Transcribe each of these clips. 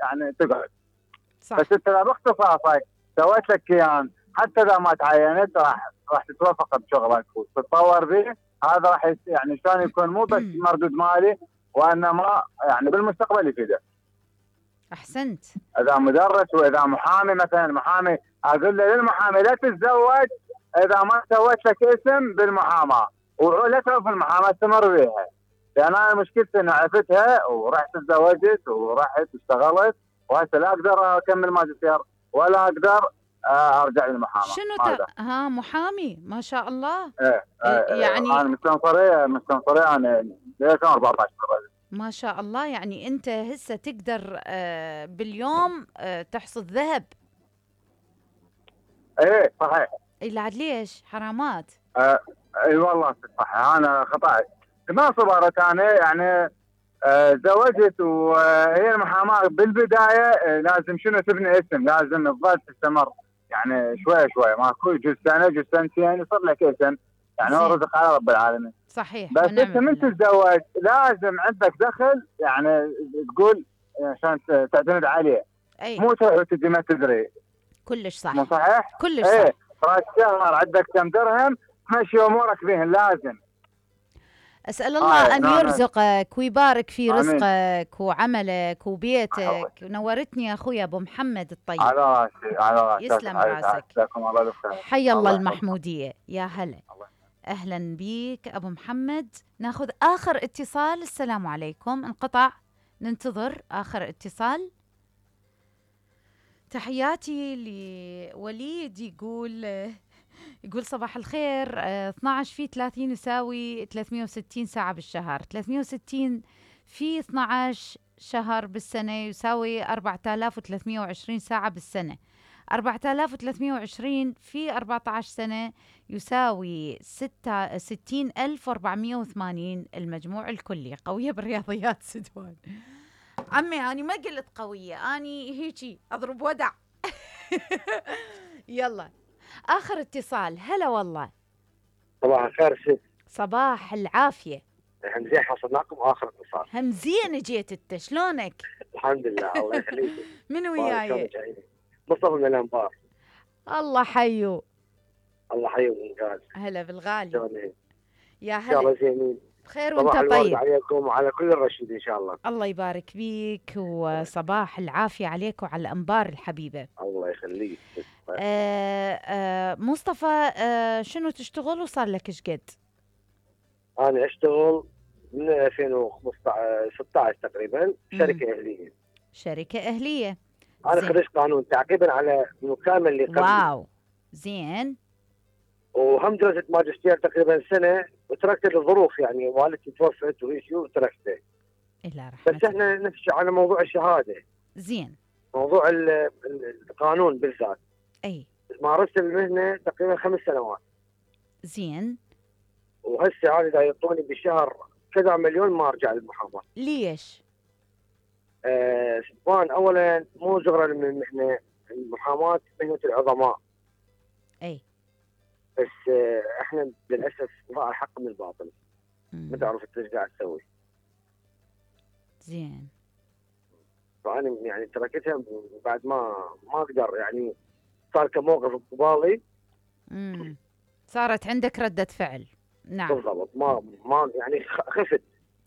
يعني تقعد. صح. بس انت باختصاصك سويت لك كيان، حتى اذا ما تعينت راح تتوفق بشغلك وتتطور به. هذا راح يعني شلون يكون مو بس مردود مالي، وانما يعني بالمستقبل يفيده. احسنت. اذا مدرس واذا محامي، مثلا محامي اقول له للمحامي لا تتزوج اذا ما سويت لك اسم بالمحاماه، ولا تعرف المحاماه استمر بها. لان انا مشكلتي ان عرفتها ورحت تزوجت ورحت اشتغلت، وهسه لا اقدر اكمل ماجستير ولا اقدر ارجع للمحاماه. شنو محامي ما شاء الله. يعني انا مستنصريه انا 2014 ما شاء الله. يعني انت هسه تقدر باليوم تحصد ذهب. ايه صحيح. اي عاد ليش حرامات. اي والله صح، انا خطأت ما صبرت انا يعني. زوجت وهي المحاماه بالبدايه لازم شنو تبني اسم، لازم تظل تستمر يعني شوي شوي، ماكو جزء سنه جزء سنتين يصير لك اسم، يعني هو رزق على رب العالمين. صحيح. بس انت من تتزوج لازم عندك دخل يعني تقول عشان تعتمد عليه. أي. مو تروح وتجي ما تدري. كلش صح. مو صحيح؟ كلش صح. راس شهر عندك كم درهم تمشي امورك بهن لازم. أسأل الله أن يرزقك ويبارك في رزقك وعملك وبيتك. نورتني يا أخوي أبو محمد الطيب. على راسي على راسي. يسلم راسك. حي الله المحمودية. يا هلا. أهلا بيك أبو محمد. ناخذ آخر اتصال. السلام عليكم. انقطع، ننتظر آخر اتصال. تحياتي لوليد. يقول صباح الخير. 12 في 30 يساوي 360 ساعة بالشهر. 360 في 12 شهر بالسنة يساوي 4320 ساعة بالسنة. 4320 في 14 سنة يساوي 60480. المجموع الكلي. قوية بالرياضيات سدوان. عمي أنا ما قلت قوية، أني هيجي أضرب ودع. يلا آخر اتصال. هلا والله. صباح الخير ست. صباح العافية. همزين حصلناكم آخر اتصال. همزين جيت انت، شلونك؟ الحمد لله الله يخليك. من وياي؟ مصطفى من الأنبار. الله حيو. الله حيو بالغالي. هلا بالغالي. يا هلا. إن شاء الله زينين. بخير وانت طيب. عليكم وعلى كل الرشيد إن شاء الله. الله يبارك فيك وصباح العافية عليك وعلى الأنبار الحبيبة. الله يخليك. مصطفى شنو تشتغل وصار لك ايش قد؟ أنا أشتغل من 2016 تقريبا شركة أهلية. شركة أهلية. أنا خريج قانون تعقيبا على المكالمة اللي قبل. واو زين. وهم درست ماجستير تقريبا سنة وتركت الظروف، يعني والدتي توفت وتركته. إلا رحمة. بس احنا نفس على موضوع الشهادة. زين. موضوع القانون بالذات. أي. مارست المهنة تقريبا 5 سنوات. زين. وهسه هذا يعطوني بالشهر كذا مليون ما ارجع للمحاماة. ليش؟ سبحان اولا مو زغرا من المهنة، المحاماة مهنة العظماء. اي. بس احنا للاسف ضاع الحق من الباطل. ما تعرف ايش قاعد تسوي. زين. فانا يعني تركتها بعد ما اقدر، يعني صار كموقف قبالي. صارت عندك ردة فعل. نعم بالضبط. ما يعني خفت.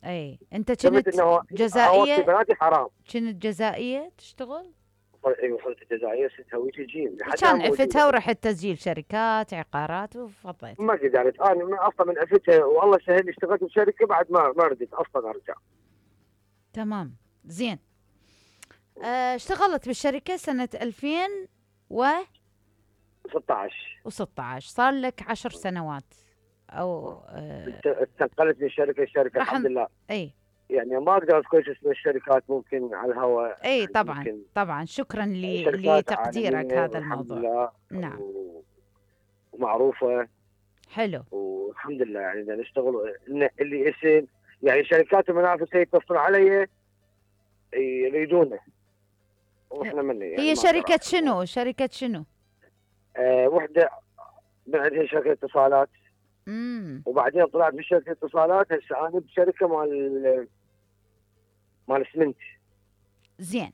اي. انت كنت جزائية؟ بناتي حرام. كنت جزائية تشتغل؟ ايوه صرت الجزائريه ست هويتي جيم. كان عفتها ورحت تسجيل شركات عقارات وفضيت. ما قدرت انا اصلا من عفتها، والله سهل اشتغلت بشركه بعد ما ردت اصلا ارجع. تمام زين. اشتغلت بالشركه سنه 2016 صار لك 10 سنوات او انتقلت من الشركه الحمد لله. اي يعني ما اقدر اذكر اسم الشركات ممكن على الهواء. اي طبعا يعني طبعا. شكرا لتقديرك هذا الموضوع. نعم. ومعروفه. حلو. والحمد لله يعني نشتغل اللي اسم، يعني شركات المنافسه يتصلون علي يريدونه واحنا مني. يعني هي شركه شنو؟ شركه شنو؟ وحده بعدها شركه اتصالات. وبعدين طلعت بشركه اتصالات. هسه انا بشركه مال اسمنت. زين.